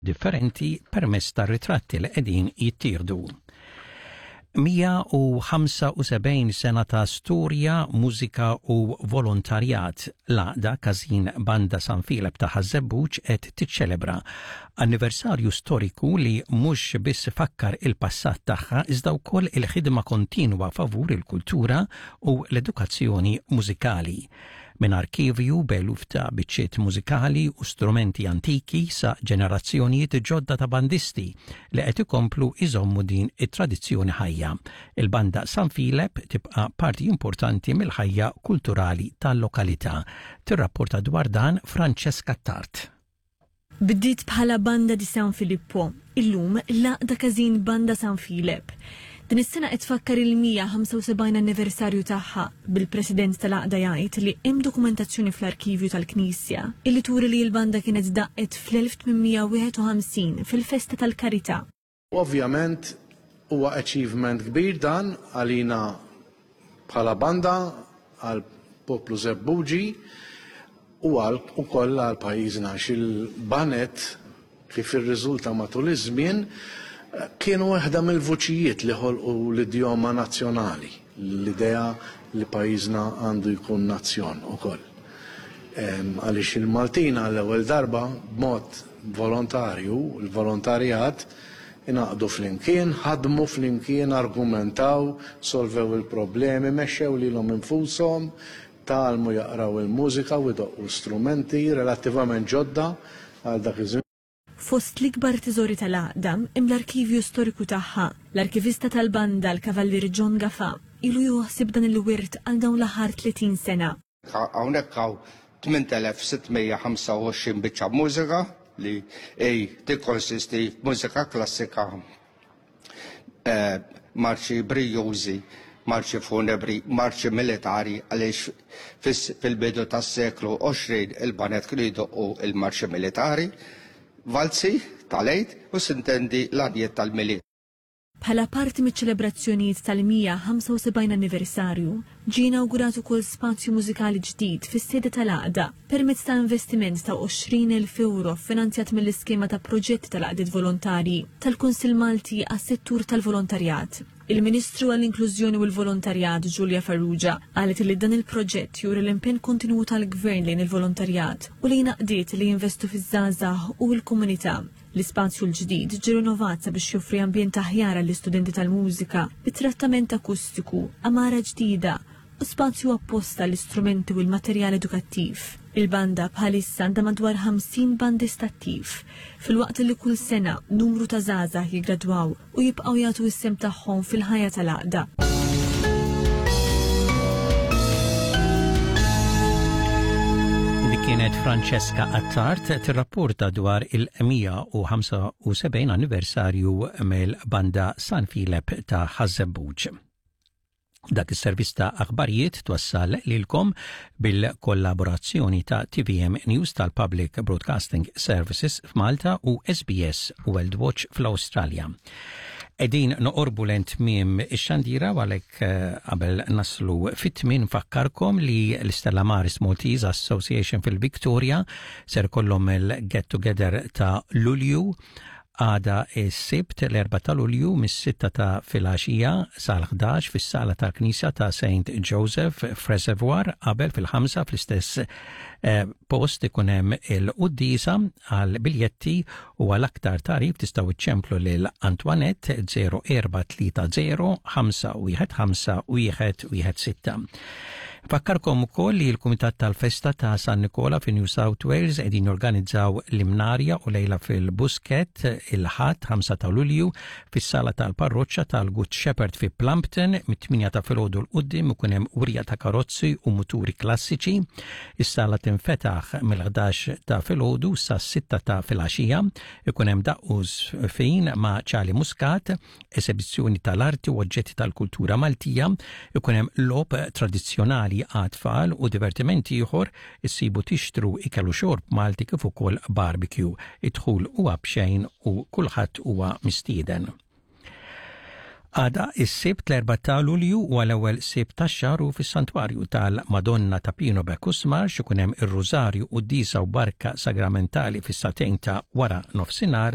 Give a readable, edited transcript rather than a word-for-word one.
differenti permezz tar-ritratti li qegħdin jittieħdu. 175 sena ta' storja, mużika u volontarjat. L-Għaqda Każin Banda San Filep ta' Ħaż-Żebbuġ qed tiċċelebra anniversarju storiku li mhux biss ifakkar il-passat tagħha iżda wkoll il-ħidma kontinwa favur il-kultura u l-edukazzjoni mużikali. Minn arkivju b'eluf ta' biċċiet mużikali u strumenti antiki sa ġenerazzjonijiet ġodda ta' bandisti li qed ikomplu jżommu din it-tradizzjoni ħajja. Il-Banda San Filep tibqa' parti importanti mill-ħajja kulturali tal-lokalità. Tirrapporta dwar dan Francesca Tart. Bdiet bħala Banda di San Filippo, illum l-Għaqda Każin Banda San Filep. Din is-sena qed tfakkar il-175 anniversarju tagħha, bil-President tal-Għaqda jgħid li hemm dokumentazzjoni fl-arkivju tal-Knisja illi turi li l-banda kienet daqqet fl-1851 fil-festa tal-Karità. Ovvjament huwa achievement kbir dan għalina bħala banda, għal poplu Żebbuġi u għal ukoll għal pajjiżna għax il-baned kif irriżulta matul iż-żmien kienu waħda mill-vuċijiet li ħolqu l-idjoma nazzjonali, l-idea li pajjiżna għandu jkun nazzjon ukoll. Għaliex il-Maltin għall-ewwel darba b'mod volontarju, il-volontarjat, ingħaqdu flimkien, ħadmu flimkien, argumentaw, solvew il-problemi, mexxew lilhom infushom, tgħallmu jaqraw il-mużika u jdoqqu strumenti relattivament ġodda għal dak iż-żmien. Fost l-ikbar teżori tal-għaqda hemm l-arkivju storiku tagħha. L-arkivista tal-banda, l-Kavallier John Gafà, ilu jieħu ħsieb dan il-wirt għal dawn l-aħħar 30 sena. Hawnhekk hawn 8625 biċċa mużika li hi tikkonsisti f'mużika klassika, eh, marċi brijużi, marċi funebri, marċi militari għaliex fil-bidu tas-seklu 20 il-banet kienu jdoqqu il-marċi militari, valzi tal-Għid u sintendi l-għanjiet tal-Milied. Bħala parti miċ-ċelebrazzjonijiet tal-175 anniversarju, ġie inawgurat ukoll spazju mużikali ġdid fis-sede tal-Għaqda permezz ta' investiment ta' 20,000 ewro ffinanzjat mill-iskema ta' proġetti tal-għaqdiet volontarji tal-Kunsill Malti għas-Settur tal-Volontarjat. Il-Ministru għall-Inklużjoni u l-Volontarjat Julia Farrugia qalet li dan il-proġett juri l-impenn kontinwu tal-Gvern lejn il-volontarjat u lejn għaqdiet li jinvestu fiż-żgħażagħ u l-komunità. L-ispazju l-ġdid ġie rinovat sabiex joffri ambjent aħjar għall-istudenti tal-mużika, bi trattament akustiku, għamara ġdida u spazju apposta għall-istrumenti u l-materjal edukattiv. Il-banda bħalissa għandha madwar 50 bandist attiv, filwaqt li kull sena numru ta' żgħażagħ jiggradwaw u jibqgħu jagħtu s-sehem tagħhom fil-ħajja tal-għaqda. Dik kienet Francesca Attard tirrapporta dwar il-175 anniversarju mill-banda San Filep ta' Ħaż-Żebbuġ. Dak is-servizz ta' aħbarijiet twassal lilkom bil-kollaborazzjoni ta' TVM News tal-Public Broadcasting Services f'Malta u SBS World Watch fl-Awstralja. Edin noqorbu lejn tmiem ix-xandira u għalhekk eh, qabel naslu fit-tmien nfakkarkom li l-Stella Maris Maltese Association fil-Victoria ser kollhom il-get together ta' Lulju Għada s-Sibt l-4 ta' Lulju mis-sitta ta' filgħaxija sal-11 fis-sala tal-Knisja ta' St. Joseph f'Reservoir qabel fil-ħamsa fl-istess eh, post ikun hemm il-quddiesa għal biljetti u għal aktar tagħrif tistgħu iċċemplu lil Antoinette 0430 515 116. Fakkarkom ukoll li l-Kumitat tal-Festa ta' San Nikola fi New South Wales qegħdin jorganizzaw l-Imnarja u lejla fil-Busket il-Ħadd 5 ta' Lulju fis-sala tal-parroċċa tal-Good Shepherd fi Plumpton mit-8 ta' filgħodu l quddiem ikun hemm wirja ta' karozzi u muturi klassiċi. Is-sala tinfetaħ mill-11 ta' filgħodu sas-6 ta' filgħaxija. Ikun hemm daqq u żfin ma' Charlie Muscat esebizzjoni tal-arti u oġġetti tal-kultura Maltija, ikun hemm logħob tradizzjonali għat-tfal u divertiment ieħor, issibu tixtru ikel u xorb Malti kif ukoll barbecue. Id-dħul huwa b'xejn u kulħadd huwa mistieden. Għada is-Sibt l-4 ta' Lulju huwa l-ewwel Sibt tax-xahar u fis-Santwarju tal-Madonna ta' Pino Bacchus Marx ikun hemm ir-Rużarju, quddiesa u barka sagramentali fis-sagħtejn ta' wara nofsinhar.